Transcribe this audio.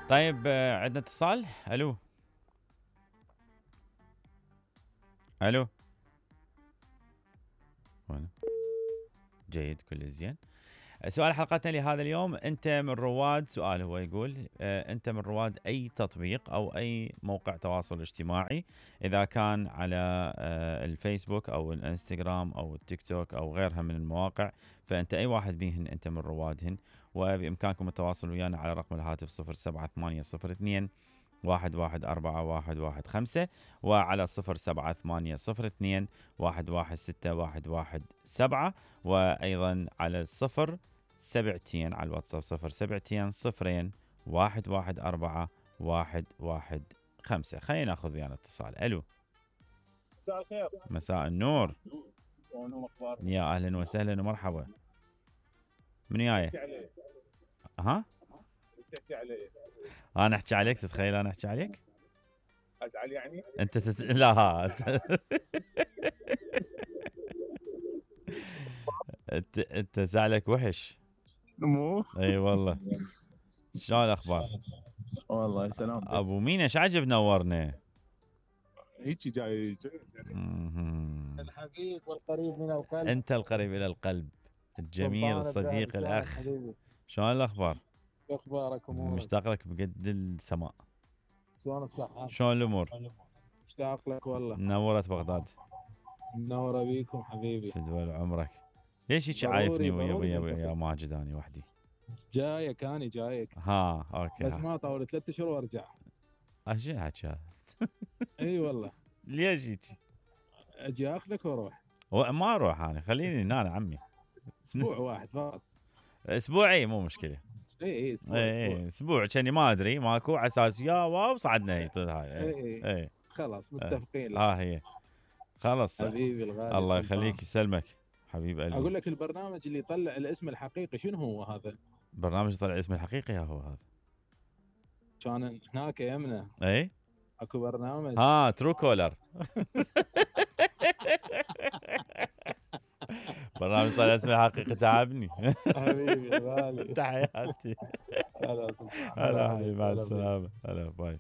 طيب عندنا اتصال. الو الو. جيد، كل زين. سؤال حلقتنا لهذا اليوم، انت من رواد، سؤال هو يقول انت من رواد اي تطبيق او اي موقع تواصل اجتماعي، اذا كان على الفيسبوك او الانستغرام او التيك توك او غيرها من المواقع، فانت اي واحد بيهن انت من روادهن، وبامكانكم التواصل ويانا على رقم الهاتف 07802 114115 وعلى 07802 116117 وايضا على 072 على الواتساب 072 0 114 115. خلينا ناخذ ويانا اتصال. الو. مساء الخير. مساء النور. شلونكم اخباركم؟ يا اهلا وسهلا ومرحبا. من وياي؟ ها؟ تحكي علي. انا احكي عليك؟ تتخيل انا احكي عليك؟ ازعل يعني؟ انت لا انت زعلك وحش. مو اي والله. شلون الاخبار؟ والله سلام. ابو مين ايش عجب نورنا. هيك جاي الحبيب والقريب من القلب. انت القريب الى القلب، الجميل الصديق الاخ. شلون الاخبار؟ اخبارك امورك؟ مشتاق لك بقد السماء. شلون الصحة؟ شلون الامور؟ مشتاق لك والله. نورت بغداد. منوره بيكم حبيبي. فدوى عمرك. ليش هيك عايفني ويا ماجد اني وحدي؟ جايك اني جايك. ها اوكي. بس ما طول 3 اشهر وارجع. ايش حكي هذا؟ اي والله. ليش هيك؟ اجي اخذك واروح. ما اروح انا، خليني هنا عمي. اسبوع واحد فقط. اسبوعي مو مشكله. اي اسبوع. اسبوع كاني ما ادري ماكو على اساس يا واو صعدنا هي هاي. اي خلاص متفقين. هي خلاص. حبيبي الغالي. الله يخليك يسلمك حبيب قلبي. اقول لك البرنامج اللي يطلع الاسم الحقيقي شنو هو هذا؟ برنامج يطلع الاسم الحقيقي هو هذا. كان هناك يمنا. اي اكو برنامج. ترو كولر. برنامج طلع اسمه حقيقي. تعبني حبيبي غالي. تحياتي. هلا هلا حبيبي، مع السلامه. هلا باي.